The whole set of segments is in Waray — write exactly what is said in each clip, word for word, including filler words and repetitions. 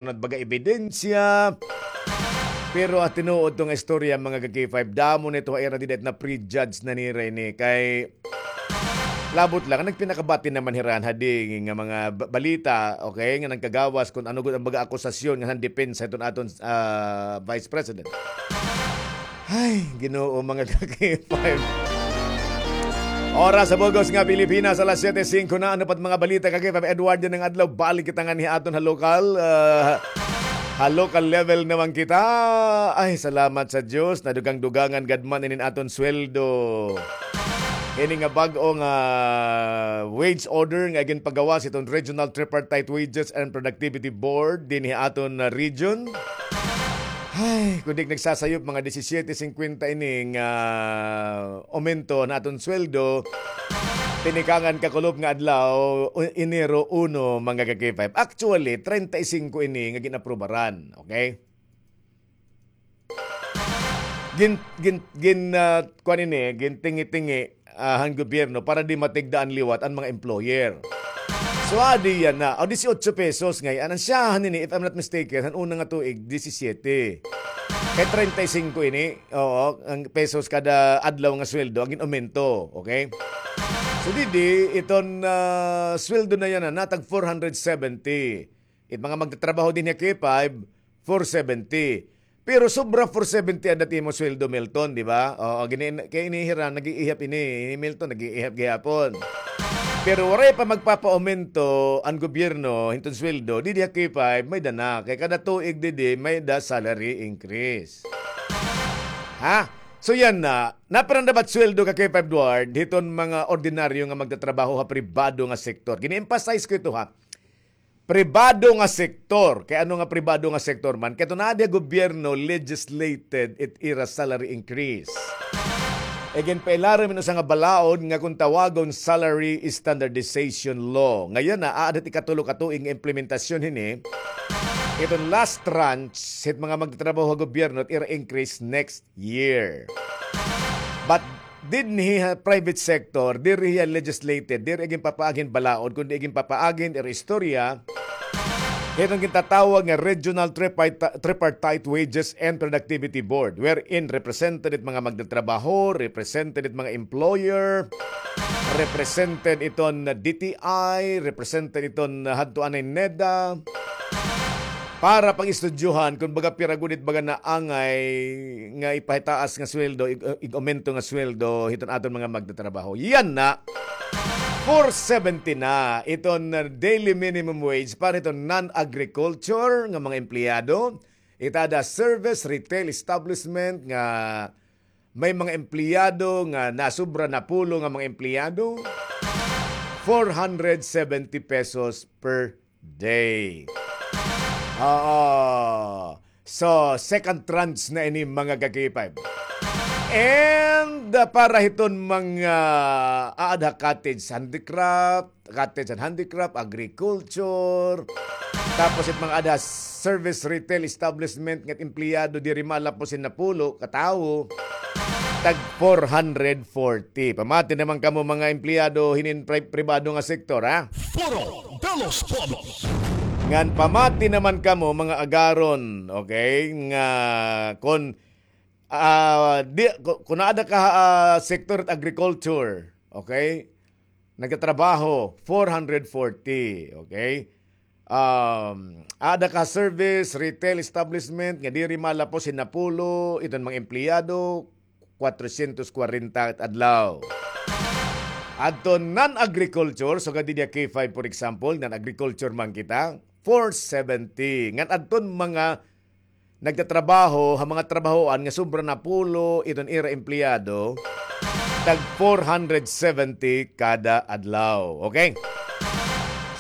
na baga ebidensya. Pero, ah, tinuod to nga istorya, mga ka-K five, damo na ito ha ira dida it na-prejudge na nira ini. Kay, labot lang, nagpinakabati naman hira han hadi nga mga ba-, balita, okay, nga nagkagawas kun ano gud an baga akusasyon nga han depensa hiton aton, ah, Vice President. Ay, Ginoo, mga ka-K five. Oras sa bug-os nga Pilipinas, alas siyete singko na. Ano pa it mga balita, ka-K five Edward, yana nga adlaw? Balik kita nganhi ha aton ha lokal, ah, ha local level naman kita. Ay, salamat sa Diyos. Nadugang-dugangan gad man inin aton sweldo. Ini nga bag-o nga wage order nga ginpagawas hiton Regional Tripartite Wages and Productivity Board dinhi ha aton, ah, region. Ay, kun di nagsasayop, mga disisiete singkwenta ini nga aumento han aton sweldo, tinikangan kakulop nga adlaw, u-, Enero uno, mga ka-K five. Actually, treinta y cinco ini nga gin-aprubaran, okay? Gin-, gin-, gin-, ah, kuan ini, gintingi-tingi, ah, han gobyerno para di matigda an liwat an mga employer. So, adi yana. O, dieciocho pesos ngay-an. An syahan ini, if I'm not mistaken, han una nga tuig, disisiete. Kay treinta y cinco ini, oo, an pesos kada adlaw nga sweldo, an gin-aumento, okay? So, didi, iton, ah, sweldo na yana, natag four hundred seventy. It mga magtatrabaho dinhi ha K five, four seventy. Pero sobra four seventy an dati mo sweldo, Milton, di ba? Oo, gini-, kay ini hira, nag-iihap ini, ini Milton, nag-iihap gihapon. Pero waray pa magpapaaumento an gobyerno hiton sweldo, didi ha K five, may-ada na. Kay kada tuig didi, may-ada salary increase. Ha? So yana, napira na ba it sweldo, ka-K five Edward, hiton mga ordinaryo nga magtatrabaho ha pribado nga sektor? Gini-emphasize ko ito, ha? Pribado nga sektor. Kay ano nga pribado nga sektor man? Kay ito na di gobyerno legislated it ira salary increase. Iginpailarom hin usa nga balaod nga kon tawagon salary standardization law. Nga yana, aada hit ikatulo ka tuig nga implementasyon hini. Iton last tranche hit mga magtatrabaho ha gobyerno it ira increase next year. But dinhi ha private sector, diri hiya legislated, diri ginpapaagi hin balaod, kundi ginpapaagi hin ira istorya hiton gintatawag nga Regional Triparti-, Tripartite Wages and Productivity Board, wherein represented it mga magtatrabaho, represented it mga employer, represented iton D T I, represented iton hadto anay NEDA, para pag-istudyohan kon baga pira gud it baga naangay nga ipahitaas nga sweldo, ig-, ig-aumento nga sweldo hiton aton mga magtatrabaho. Yana, four seventy na iton, uh, daily minimum wage para hiton non-agriculture nga mga empleyado. It ada service, retail establishment nga may mga empleyado nga nasobra napulo nga mga empleyado, four hundred seventy pesos per day. Oo. So, second tranche na ini, mga ka-K five. And, uh, para hiton mga aada ha cottage handicraft, cottage and handicraft, agriculture, tapos it mga aada service retail establishment nga empleyado diri malapos hin napulo ka tawo, tag four hundred forty. Pamati naman kamo mga empleyado hinin pri-, pribado nga sektor, ha? Foro de los Pueblos. Ngan pamati naman kamo mga agaron, okay? Nga kon, ah, di, ku-, kun aada ka, ah, sektor agriculture, okay? Nagtatrabaho, four hundred forty, okay? Um, aada ka service, retail establishment, nga diri malapos hin napulo, iton mga empleyado, kwatrosyentos kwarenta adlaw. Adto non-agriculture, so gadi niya K five, for example, non-agriculture man kita, four seventy. Ngan adton mga nagtatrabaho ha mga trabahoan nga sobra napulo iton ira empleyado, tag four hundred seventy kada adlaw. Okay?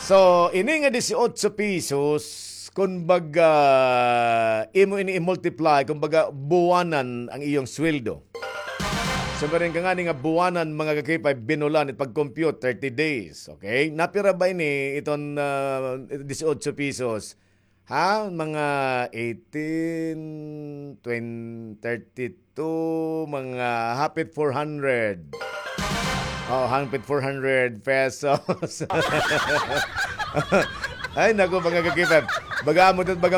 So, ini nga dieciocho pesos, kumbaga, imo ini i-multiply, kumbaga, buwanan ang iyong sweldo. So, meron ka ngani nga buwanan, mga ka-K five, binulan, it pag-compute, thirty days. Okay? Napira ba ini, iton, ah, dieciocho pesos? Ha? Mga eighteen, twenty, thirty-two, mga hapit four hundred. Oh, hapit four hundred pesos. Ay, naku, mga ka-K five. Baga amo ito, baga